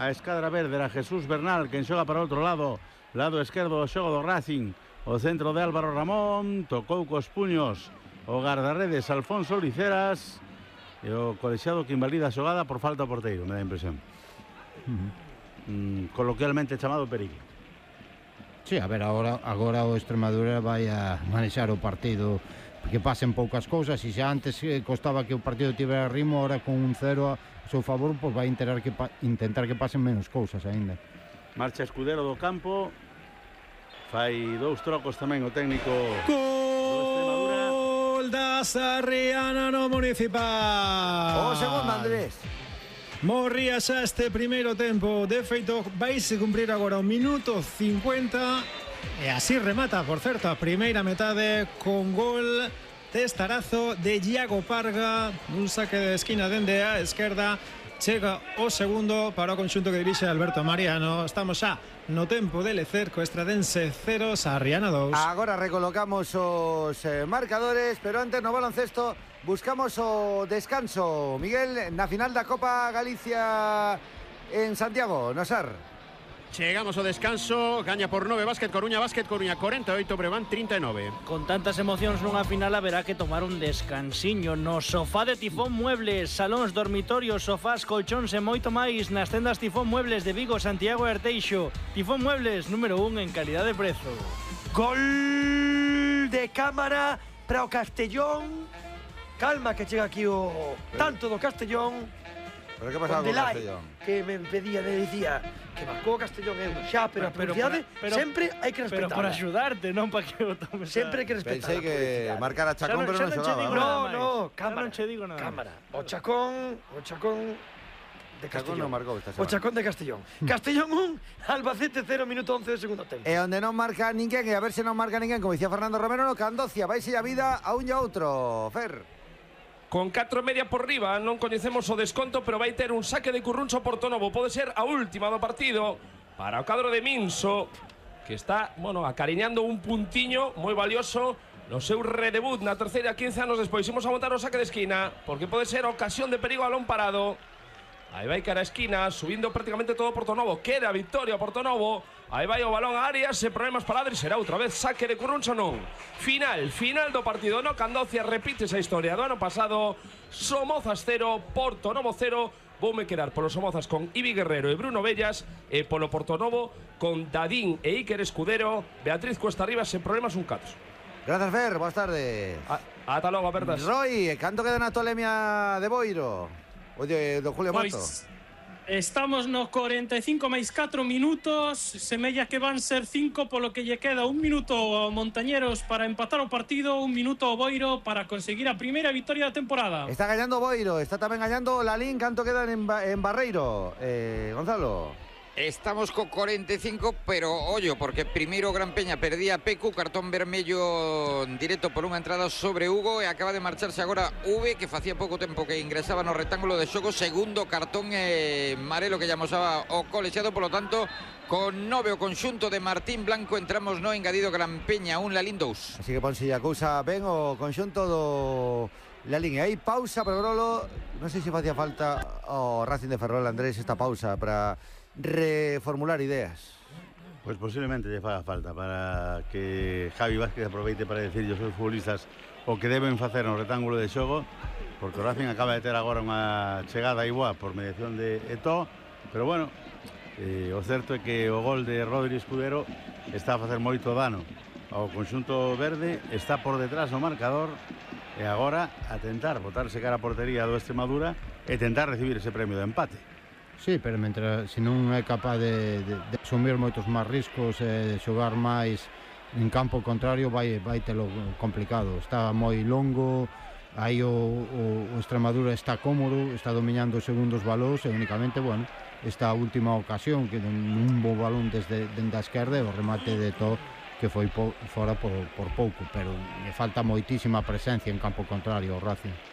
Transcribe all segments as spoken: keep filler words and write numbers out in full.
a escadra verde, era Jesús Bernal quen xoga para outro lado, lado esquerdo do xogo do Racing, o centro de Álvaro Ramón, tocou cos puños o guardarredes Alfonso Liceras e o colexiado que invalida a xogada por falta ao porteiro, me dá a impresión. Uh-huh. mm, coloquialmente chamado perigo. Sí, a ver, agora, agora o Extremadura vai a manexar o partido, porque pasen poucas cousas, e xa antes eh, costaba que o partido tivera ritmo, ahora con un cero a seu favor, pois vai intentar que, pa, intentar que pasen menos cousas aínda. Marcha Escudero do campo, fai dous trocos tamén o técnico Gol da Sarriana no Municipal. O segundo, Andrés. Morría xa este primeiro tempo. De feito, vaise cumprir agora o minuto cincuenta. E así remata, por certo, a primeira metade con gol testarazo de Iago Parga, un saque de esquina dende a esquerda. Chega o segundo para o conxunto que dirixe Alberto Mariano. Estamos xa no tempo de lecer co Estradense cero, Sarriana dous. Agora recolocamos os eh, marcadores, pero antes no baloncesto buscamos o descanso. Miguel, na final da Copa Galicia en Santiago, Nosar. Chegamos ao descanso, gaña por nove Básquet Coruña, Básquet Coruña cuarenta e oito, Breogán trinta e nove. Con tantas emocións nunha final haberá que tomar un descansiño no sofá de Tifón Muebles, salóns, dormitorios, sofás, colchóns e moito máis nas tendas Tifón Muebles de Vigo, Santiago e Arteixo. Tifón Muebles, número un en calidad de prezo. Gol de cámara para o Castellón. Calma que chega aquí o tanto do Castellón. Pero que pasaba con Castellón? Que me pedía, me decía que marcou o Castellón eu xa, pero a publicidade sempre hai que respetar. Pero por axudarte, non para que o tomes. Sempre hai que respetar. Pensei que marcar a Chacón, pero non xogaba. No, no, cámara. Non che digo nada. Cámara. O Chacón, o Chacón de Castellón. Chacón non marcou esta semana. O Chacón de Castellón. Castellón un, Albacete cero, minuto once de segundo tempo. E onde non marca ninguén, e a ver se non marca ninguén, como dicía Fernando Romero, no Candocia, vaise a vida a un e a outro. Fer. Con catro e media por riba, non coñecemos o desconto, pero vai ter un saque de Curruncho Portonovo. Pode ser a última do partido para o cadro de Minso, que está, bueno, acariñando un puntiño moi valioso no seu redebut na terceira quince anos despois. Imos a montar o saque de esquina, porque pode ser ocasión de perigo a balón parado. Aí vai cara a esquina, subindo prácticamente todo Portonovo. Queda victoria Portonovo. Aí vai o balón a áreas, sen problemas para Adri. Será outra vez saque de Curruncho non. Final, final do partido no Candocia. Repite esa historia do ano pasado. Somozas cero, Portonovo cero. Voume quedar polos Somozas con Ibi Guerrero e Bruno Bellas, e polo Portonovo con Dadín e Iker Escudero. Beatriz Cuesta Arriba sen problemas, un catro. Gracias, Fer, boas tardes. Ata logo, apertas. Roy, canto queda na tolemia de Boiro? Oye, do Julio Mato. Pois estamos no cuarenta e cinco máis catro minutos. Semella que van ser cinco, polo que lle queda un minuto ao Montañeros para empatar o partido, un minuto ao Boiro para conseguir a primeira victoria da temporada. Está gañando Boiro, está tamén gañando Lalín. Canto quedan en, ba en Barreiro, eh, Gonzalo? Estamos co cuarenta e cinco, pero ollo, porque primeiro Gran Peña perdía a Pecu, cartón vermello directo por unha entrada sobre Hugo, e acaba de marcharse agora V, que facía pouco tempo que ingresaba no rectángulo de xogo. Segundo cartón eh, marelo que llamosaba o colexiado, polo tanto con nove o conxunto de Martín Blanco. Entramos no engadido Gran Peña un, Lalín dous. Así que ponse a cousa ben o conxunto do Lalín. E aí pausa para Grolo. Non sei se facía falta o Racing de Ferrol, Andrés, esta pausa para reformular ideas. Pues posiblemente lle faga falta para que Javi Vázquez aproveite para decir aos seus futbolistas o que deben facer no rectángulo de xogo, porque o Racing acaba de ter agora unha chegada igual por mediación de Eto'o, pero bueno, eh, o certo é que o gol de Rodri Escudero está a facer moito dano ao conxunto verde, está por detrás no marcador, e agora a tentar botarse cara a portería do Extremadura e tentar recibir ese premio de empate. Sí, pero mentre se non é capaz de, de, de asumir moitos máis riscos e de xogar máis en campo contrario, vai, vai telo complicado. Está moi longo, aí o, o, o Extremadura está cómodo, está dominando os segundos balóns, e únicamente, bueno, esta última ocasión que un bo balón desde, desde a esquerda, o remate de Eto'o, que foi po, fora por, por pouco, pero me falta moitísima presencia en campo contrario ao Racing.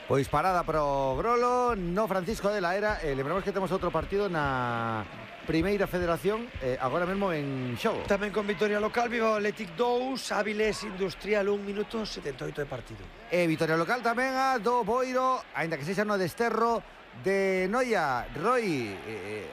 Pois parada pro Grolo no Francisco de la Era. eh, Lembramos que temos outro partido na Primeira Federación, eh, agora mesmo en xogo. Tamén con victoria local, Vigo Athletic dous, Áviles Industrial un, minuto setenta e oito de partido. E victoria local tamén a do Boiro, aínda que sexa no desterro de Noia. Roy, eh,